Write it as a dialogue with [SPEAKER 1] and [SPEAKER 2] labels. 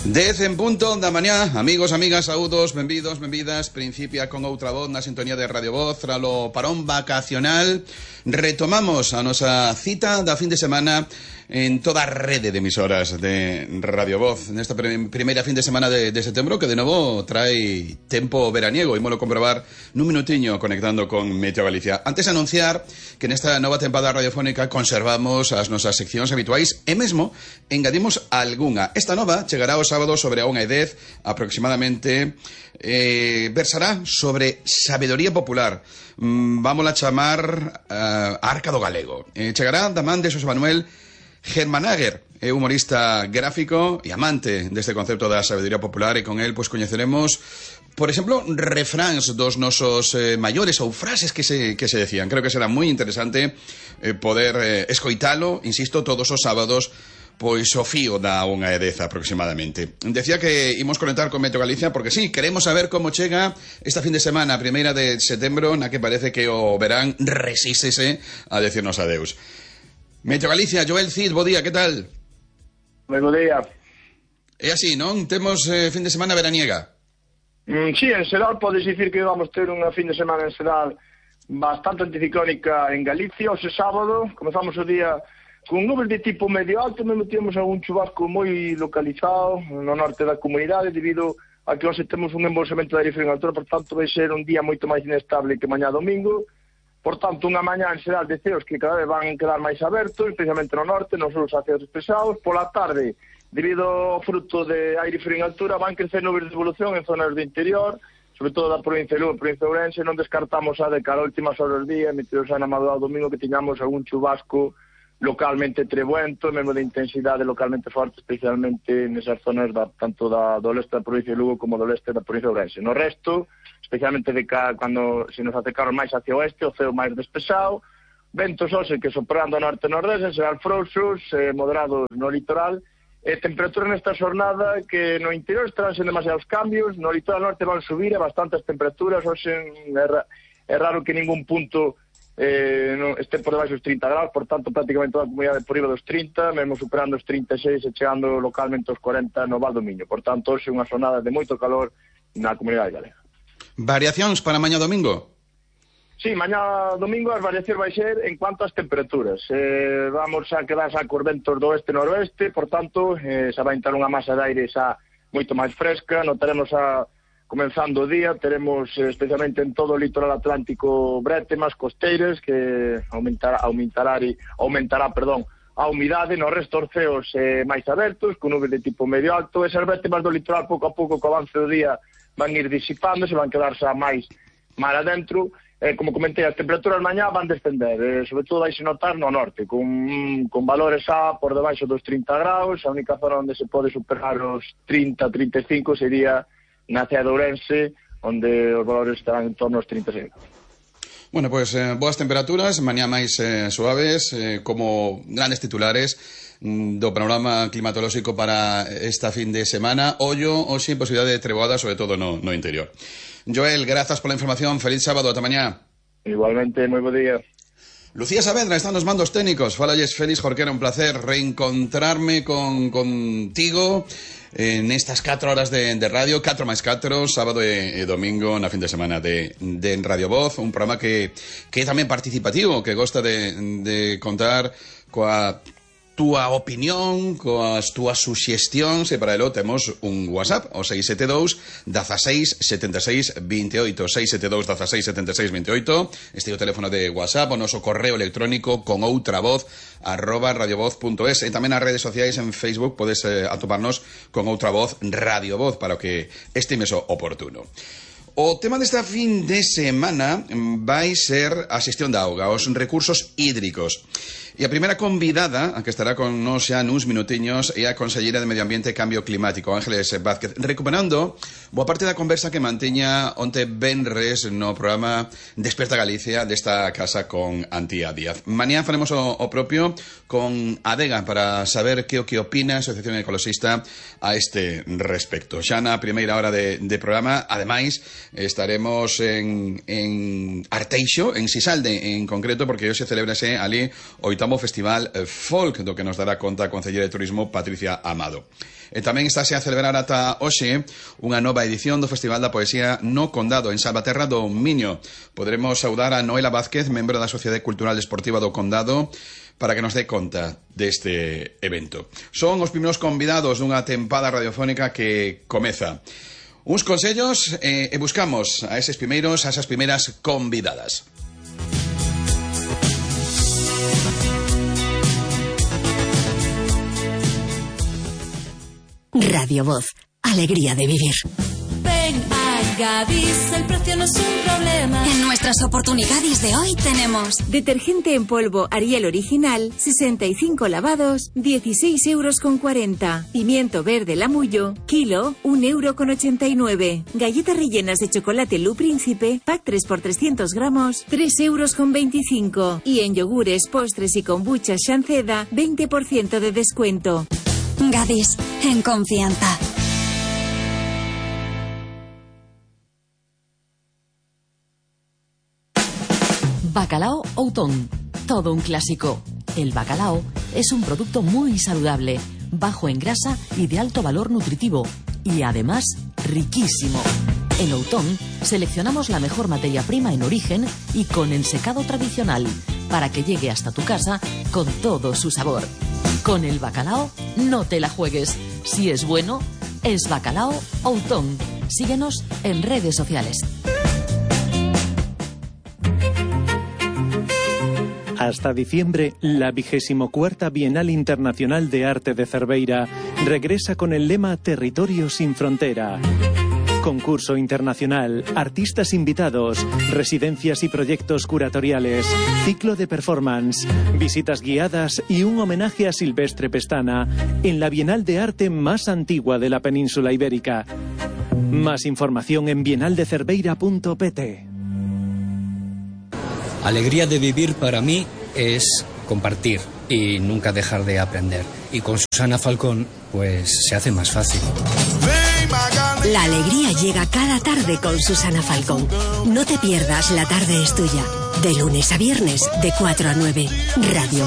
[SPEAKER 1] 10 en punto da mañá, amigos, amigas, saúdos, benvidos, benvidas. Principia con outra voz na sintonía de Radio Voz. Tralo parón vacacional, retomamos a nosa cita da fin de semana en toda a rede de emisoras de Radio Voz nesta primeira fin de semana de setembro, que de novo trae tempo veraniego. Imolo comprobar nun minutiño conectando con Meteo Galicia. Antes de anunciar que nesta nova tempada radiofónica conservamos as nosas seccións habituais e mesmo engadimos algunha. Esta nova chegará o sábado sobre a 1:10 aproximadamente. Versará sobre sabedoría popular. Vámola chamar Arca do Galego. Chegará da man de Xosé Manuel Germanager, é humorista gráfico e amante deste concepto da sabedoría popular, e con el pois coñeceremos, por exemplo, refráns dos nosos maiores ou frases que se decían. Creo que será moi interesante poder escoitalo, insisto, todos os sábados, pois o fío da 1:10 aproximadamente. Decía que imos conectar con Meteo Galicia porque sí, queremos saber como chega esta fin de semana, primeira de setembro, na que parece que o verán resístese a decirnos adeus. Meteo Galicia, Joel Cid, bo día, que tal?
[SPEAKER 2] Bo día.
[SPEAKER 1] É así, non? Temos fin de semana veraniega?
[SPEAKER 2] Sí, en xeral podes dicir que vamos ter unha fin de semana en xeral bastante anticiclónica en Galicia. Hoxe sábado comezamos o día con nubes de tipo medio alto, mesmo temos algún chubasco moi localizado no norte da comunidade debido a que hoxe temos un embolsamento de aire frío en altura, por tanto vai ser un día moito máis inestable que mañá domingo. Por tanto, unha mañá en xeral de ceos que cada vez van quedar máis abertos, especialmente no norte, nos sulos a ceos despesados. Pola tarde, debido ao fruto de aire frío en altura, van crecer nubes de evolución en zonas do interior, sobre todo da provincia de Lugo, provincia de Ourense. Non descartamos a de cara a últimas horas do día, metidos na madrugada do domingo, que tiñamos algún chubasco localmente trebuento, mesmo de intensidade localmente forte, especialmente nesas zonas tanto do leste da provincia de Lugo como do leste da provincia de Ourense. No resto, especialmente cando se nos acercaron máis hacia o oeste, o ceo máis despexado, ventos hoxe que soprando ao norte e nordeste, serán frouxos, moderados no litoral, e temperatura nesta xornada que no interior estarán sen demasiados cambios, no litoral norte van subir a bastantes temperaturas. Hoxe é raro que ningún punto este por debaixo dos 30 graus, por tanto prácticamente toda a comunidade por riba dos 30, mesmo superando os 36 e chegando localmente aos 40 no Val do Miño. Por tanto, hoxe unha xornada de moito calor na comunidade galega.
[SPEAKER 1] Variacións para mañá domingo?
[SPEAKER 2] Sí, mañá domingo as variacións vai ser en cuanto ás temperaturas. Vamos a quedar xa cos ventos do oeste e noroeste, por tanto, xa vai entrar unha masa de aire xa moito máis fresca. Notaremos comenzando o día, teremos especialmente en todo o litoral atlántico brétemas costeiras que aumentará a humidade. No resto os ceos máis abertos, con nubes de tipo medio alto. Esas brétemas do litoral pouco a pouco co avance do día van ir disipando, se van quedar xa máis mar adentro. Como comentei, as temperaturas mañá van descender, sobre todo vai se notar no norte, con valores xa por debaixo dos 30 graus. A única zona onde se pode superar os 30-35 sería na cidade de Ourense, onde os valores estarán en torno aos 36.
[SPEAKER 1] Bueno, pois boas temperaturas, mañá máis suaves, como grandes titulares do panorama climatolóxico para esta fin de semana. Ollo, hoxe, posibilidade de treboada, sobre todo no interior. Joel, grazas pola información, feliz sábado, ata mañá.
[SPEAKER 2] Igualmente, moi bo día.
[SPEAKER 1] Lucía Saavedra está nos mandos técnicos. Falalles Félix Jorquera, un placer reencontrarme contigo nestas 4 horas de radio, 4 máis 4, sábado e domingo na fin de semana de Radio Voz, un programa que é tamén participativo, que gosta de contar coa túa opinión, coas túas suxestións, e para elo temos un WhatsApp, o 672 16 76 28, 672 16 76 28. Este é o teléfono de WhatsApp, o noso correo electrónico con outra voz @radiovoz.es, e tamén nas redes sociais. En Facebook podes atoparnos con outra voz Radio Voz para o que estimes oportuno. O tema desta fin de semana vai ser a xestión da auga, os recursos hídricos. E a primeira convidada, a que estará con nos xa nuns minutiños, é a conselleira de Medio Ambiente e Cambio Climático, Ángeles Vázquez, recuperando boa parte da conversa que manteña onte venres no programa Despierta Galicia desta casa con Antía Díaz. Mañá faremos o propio con Adega para saber que o que opina a Asociación Ecologista a este respecto. Xa na primeira hora de programa, ademais, estaremos en Arteixo, en Sisalde en concreto, porque hoxe celebrase ali o 8º oitavo Festival Folk, do que nos dará conta a Concelleira de Turismo Patricia Amado. E tamén estáse a celebrar ata hoxe unha nova edición do Festival da Poesía no Condado, en Salvaterra do Miño. Poderemos saudar a Noela Vázquez, membro da Sociedade Cultural Esportiva do Condado, para que nos dé conta deste evento. Son os primeiros convidados dunha tempada radiofónica que comeza. Uns consellos e buscamos a esas primeiras convidadas.
[SPEAKER 3] Radio Voz, alegría de vivir.
[SPEAKER 4] Ven a Gadis, el precio no es un problema.
[SPEAKER 3] En nuestras oportunidades de hoy tenemos
[SPEAKER 5] detergente en polvo Ariel original, 65 lavados, 16,40 €. Pimiento verde Lamullo, kilo, 1,89 €. Galletas rellenas de chocolate Lu Príncipe, pack 3 por 300 gramos, 3,25 €. Y en yogures, postres y kombucha Shanceda, 20% de descuento.
[SPEAKER 3] Gadis, en confianza.
[SPEAKER 6] Bacalao Outón, todo un clásico. El bacalao es un producto muy saludable, bajo en grasa y de alto valor nutritivo, y además riquísimo. En Outón seleccionamos la mejor materia prima en origen y con ensecado tradicional, para que llegue hasta tu casa con todo su sabor. Con el bacalao no te la juegues. Si es bueno, es Bacalao Outón. Síguenos en redes sociales.
[SPEAKER 7] Hasta diciembre, la 24ª Bienal Internacional de Arte de Cerveira regresa con el lema Territorio sin frontera. Concurso internacional, artistas invitados, residencias y proyectos curatoriales, ciclo de performance, visitas guiadas y un homenaje a Silvestre Pestana en la Bienal de Arte más antigua de la península ibérica. Más información en bienaldecerveira.pt.
[SPEAKER 8] Alegría de vivir para mí es compartir y nunca dejar de aprender. Y con Susana Falcón, pues se hace más fácil.
[SPEAKER 3] La alegría llega cada tarde con Susana Falcón. No te pierdas La tarde es tuya. De lunes a viernes, de 4 a 9. Radio